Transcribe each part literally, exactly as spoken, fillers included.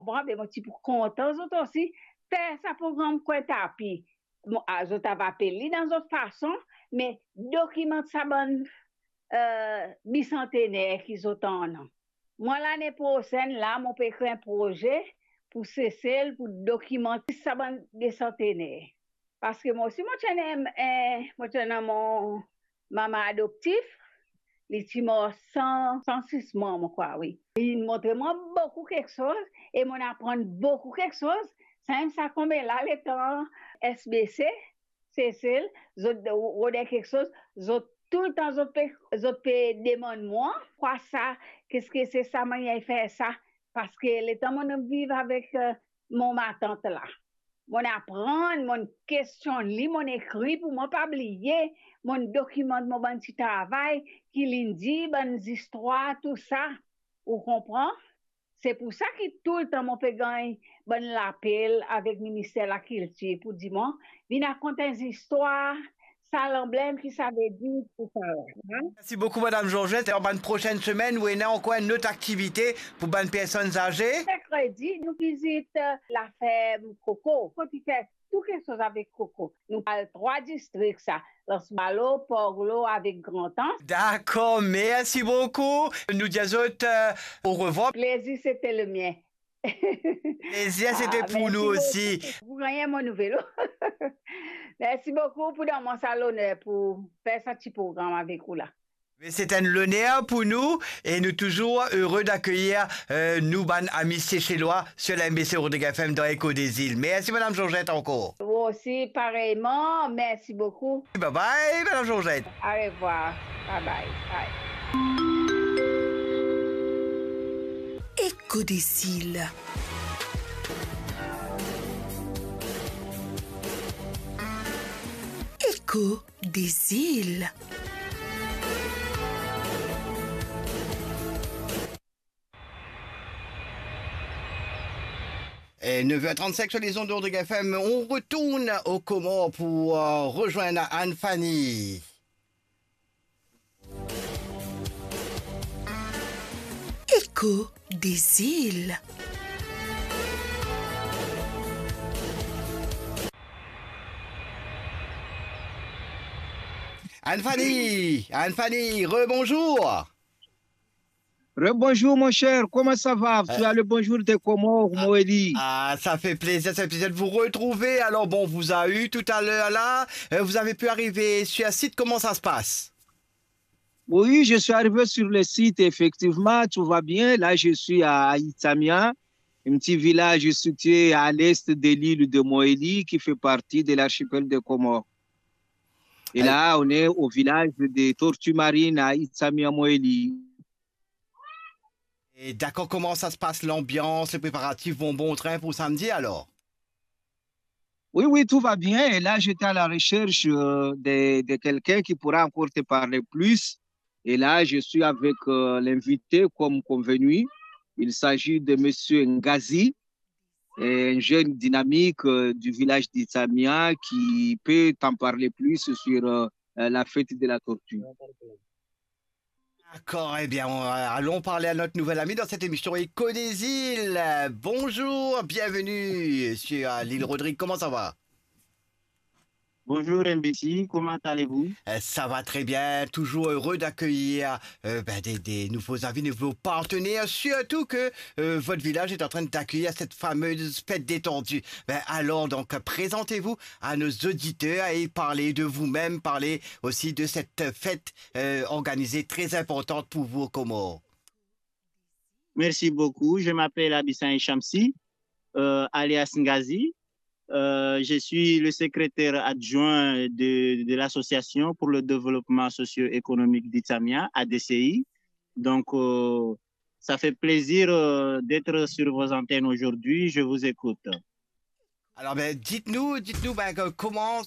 Bon, be mo ti pou kontan zot osi fer sa program Kwin Tapi. Mo, a, zot ava apel li dan zot fason, me dokimant sa bann, eh, bisantener ki zot annan. Mwa lane prosenn la, mo pe kre enn proze pou Sesel, pou dokimant sa bann bisantener. Paske mo osi, mo ti ena, eh, mo ti ena mo mama adoptif, li ti mor san, san sis mwa, mo krwar, wi. Li montre mwa boukou kiksoz, e mo'nn aprann boukou kiksoz. Samem sa konbien la letan S B C, Sesel, zot rode kiksoz, zot toultan zot pe, zot pe demann mwa, kwa sa, keske se sa, mannyer fer sa, paske letan mo'nn viv avek, eh, mo matant la, mo'nn aprann, mo'nn kestionn li, mo'nn ekri pou mwa pa bliye, mo'nn dokimant mo bann ti travay, ki li'nn dir, bann zistwar, tou sa. Ou konpran? Se pou sa ki toultan mo pe gagn bann lapel avek Minister Lakiltir pou dir mwa, vinn rakont enn zistwar, sa lanblem, ki sa ve dir, tou sa la. Mersi boukou, Madam Georgette. Alor, bann prosenn semenn, ou ena ankor enn lot aktivite pou bann personn aze? Merkredi, nou vizit, eh, laferm koko. Kot li fer tou kiksoz avek koko. Nou al trwa distrik sa, Anse Malo, Port Glaud avek Grand Anse. Dakor, mersi boukou. Nou dir zot, eh, orevwar. Plezir, sete le mien. Plezir, sete pou nou osi. Ah, mersi boukou. Pou gagn mo nouvel. Mersi boukou pou donn mwa sa loner pou fer sa ti program avek ou la. Mais c'est un honneur pour nous et nous toujours heureux d'accueillir, euh, nou bann ami Seselwa sur la M B C Rodrigue F M dans Echo des Îles. Merci, Madame Georgette, encore. Vous aussi, pareillement. Merci beaucoup. Bye bye, Madame Georgette. Au revoir. Bye bye. Bye. Echo des Îles. Echo des Îles. Et neuf heures trente-cinq sur les ondes de Rodrigue F M, on retourne aux Comores pour, euh, rejoindre Anne-Fanny. Echo des Îles. Anne-Fanny, Anne-Fanny, rebonjour. Rebonjour, mon cher, comment ça va? Tu as le bonjour des Comores, Mohéli. Ah, ça fait plaisir, ça fait plaisir de vous retrouver. Alors, bon, on vous a eu tout à l'heure là. Euh, vous avez pu arriver sur site, comment ça se passe? Oui, je suis arrivé sur le site, effectivement, tout va bien. Là, je suis à Itsamia, un petit village situé à l'est de l'île de Mohéli, qui fait partie de l'archipel des Comores. Et là, on est au village des Tortues Marines à Itsamia, Mohéli. Et d'accord, comment ça se passe, l'ambiance, les préparatifs vont bon train pour samedi alors? Oui, oui, tout va bien. Et là, j'étais à la recherche, euh, de, de quelqu'un qui pourra encore te parler plus. Et là, je suis avec, euh, l'invité, comme convenu. Il s'agit de Monsieur Ngazi, un jeune dynamique, euh, du village d'Itsamia qui peut t'en parler plus sur, euh, euh, la fête de la tortue. D'accord, eh bien, on, euh, allons parler à notre nouvel ami dans cette émission Echo des Îles. Euh, bonjour, bienvenue sur, euh, l'île Rodrigue. Comment ça va? Bonjour M B C, comment allez-vous? Euh, ça va très bien, toujours heureux d'accueillir, euh, ben, des, des nouveaux amis, de nouveaux partenaires, surtout que, euh, votre village est en train d'accueillir cette fameuse fête des tortues. Ben, alors, donc, présentez-vous à nos auditeurs et parlez de vous-même, parlez aussi de cette fête, euh, organisée très importante pour vous aux Comores. Merci beaucoup. Je m'appelle Abissaï Shamsi, euh, alias Ngazi. Euh, je suis le secrétaire adjoint de, de l'Association pour le développement socio-économique d'Itsamia, A D C I. Donc, euh, ça fait plaisir, euh, d'être sur vos antennes aujourd'hui. Je vous écoute. Alors, ben, dites-nous, dites-nous, ben, que, comment,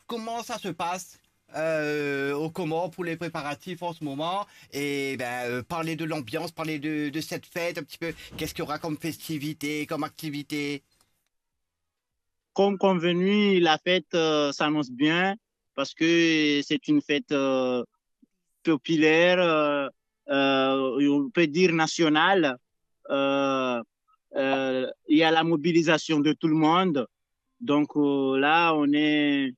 comment ça se passe, euh, aux Comores pour les préparatifs en ce moment? Et ben, euh, parlez de l'ambiance, parlez de, de cette fête un petit peu. Qu'est-ce qu'il y aura comme festivité, comme activité? Comme convenu, la fête, euh, s'annonce bien parce que c'est une fête, euh, populaire, euh, euh, on peut dire nationale. Euh, Euh, il y a la mobilisation de tout le monde. Donc euh, là, on est